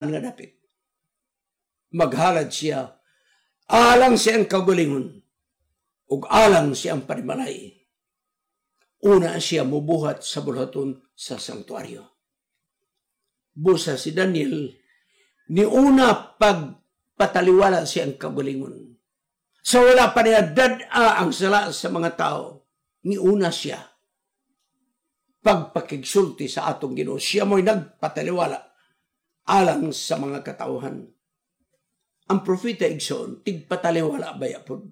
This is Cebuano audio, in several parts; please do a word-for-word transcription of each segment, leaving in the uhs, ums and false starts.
nga dapit. Maghalad siya alang siyang kaugalingon ug alang siyang panimalay. Una siya mubuhat sa bulhaton sa sanktuaryo. Busa si Daniel ni una pagpataliwala siyang kaugalingon. Sa wala pa niya dad-a ang sala sa mga tao, ni una siya pagpakigsulti sa atong Ginoo. Siya mo'y nagpataliwala alang sa mga katauhan. Ang propeta, igsoon, tigpataliwala baya pod.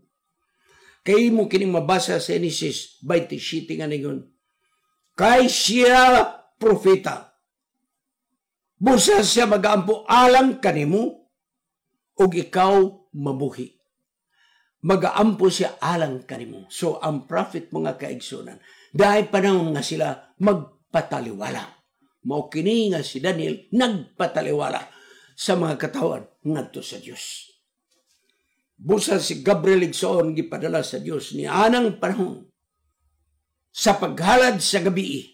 Kay mo kining mabasa sa Genesis twenty-seven nga ningon, kay siya propeta. Busa siya magaampo alang kanimo ug ikaw mabuhi. Magaampo siya alang kanimo. So ang prophet, mga kaigsunan, dahil panahon nga sila magpataliwala. Mao kini nga si Daniel nagpataliwala sa mga katawan ngadto sa Dios. Busa si Gabriel, igsoon, gipadala sa Dios ni anang panahon sa paghalad sa gabi.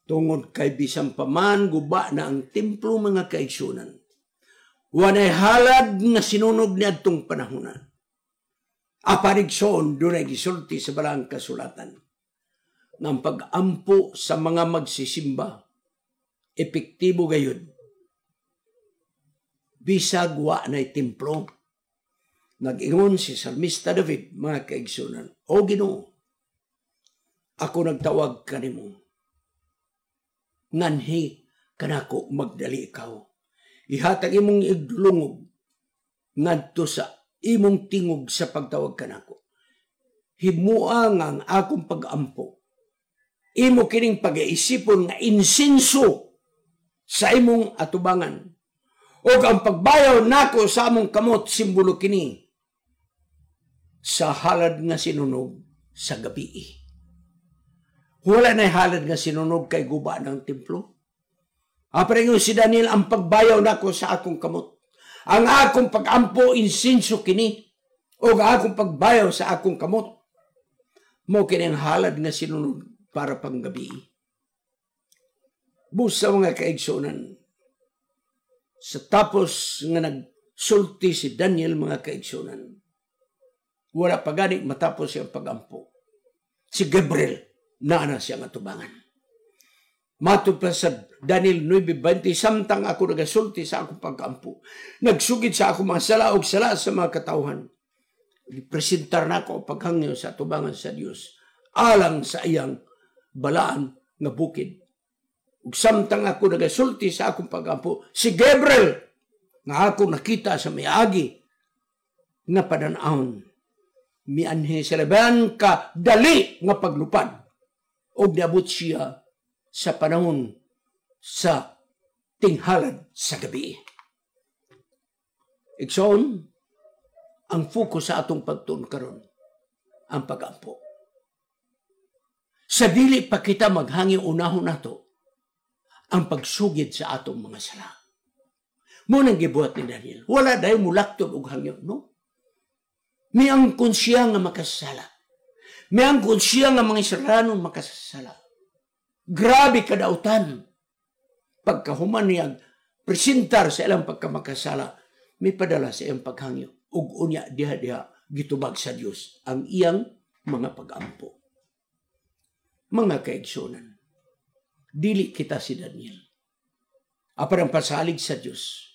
Tungod kay bisan pa man guba na ang templo, mga kaigsunan, wanay halad nga sinunog ni adtong panahona. Apan, igsoon, dunay gisulti sa Balaang Kasulatan ng pag-ampo sa mga magsisimba epektibo gayud bisag wa na templo. Nag-ingon si Salmista David, mga kaigsunan, "O Ginoo, ako nagtawag kanimo. Nganhi kanako magdali ikaw? Ihatag imong igdulungog ngadto sa imong tingog sa pagtawag kanako. Himua nga ang akong pag-ampo, imo kining pag-iisipon nga insenso sa imong atubangan. O ang pagbayaw nako sa among kamot, simbolo kini sa halad nga sinunog sa gabi." Wala na halad nga sinunog kay guba ng templo. Apan si Daniel, ang pagbayaw nako sa akong kamot, ang akong pagampo, insinso kini o ang akong pagbayaw sa akong kamot. Mo kini ang halad nga sinunog para panggabi. Busa, mga kaigsunan, sa tapos nga nagsulti si Daniel, mga kaigsunan, wala pa gani matapos siyang pagampo, si Gabriel naa na siya nga tubangan. Matod pa sa Daniel nine twenty, samtang ako nagasulti sa akong pagkampo, nagsugid sa akong mga sala og sala sa mga katawhan, presentar na ako paghangyo sa tubangan sa Dios alang sa iyang balaan nga bukid. Ug samtang ako nagasulti sa akong pagampo, si Gabriel nga ako nakita sa miagi nga padan-awon, mianhi sa laban ka dali nga paglupad ug niabot siya sa panahon sa tinghalad sa gabi. Igsoon, ang focus sa atong pagtuon karon ang pagampo. Sa dili pa kita maghangyo, unahon nato ang pagsugid sa atong mga sala. Mo nang gibuhat ni Daniel. Wala dahil mulakton og hangyo, no? Miangkon siya nga makasala. Miangkon siya nga mga Israelano makasala. Grabe kadautan. Pagkahuman niya presentar sa ilang pagkamakasala, may padala sa iyang paghangyo. Ug unya diha-diha gitubag sa Dios ang iyang mga pagampo. Mga kaigsunan, dili kita si Daniel. Apan ang pasalig sa Dios,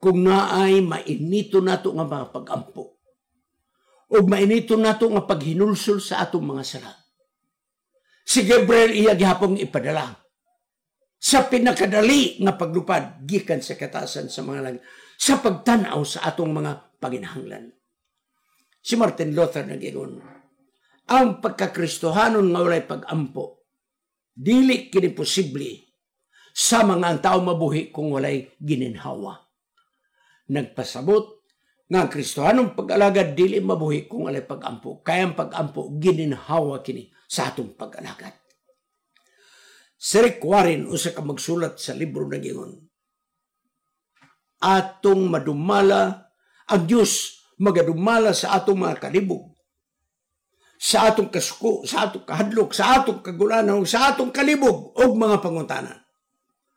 kung naay mainito nato nga mga pagampo, o mainito nato nga paghinulsol sa atong mga sala, si Gabriel iya gihapong ipadala sa pinakadali nga paglupad gikan sa katasan sa mga langit sa pagtanaw sa atong mga panginahanglan. Si Martin Luther nag-ingon, ang pagkakristohanon nga walay pagampo, dili kini posible sa mga ang tao mabuhi kung walay gininhawa. Nagpasabot nga ang Kristohanong pag-alagad dili mabuhi kung walay pagampo. Kaya ang pagampo, gininhawa kini sa atong pag-alagad. Si Rick Warren, usa ka magsulat sa libro, nag-ingon, atong madumala ang Dios, magadumala sa atong mga kalibog, sa atong kasuko, sa atong kahadlok, sa atong kagulanaw, sa atong kalibog ug mga pangutana.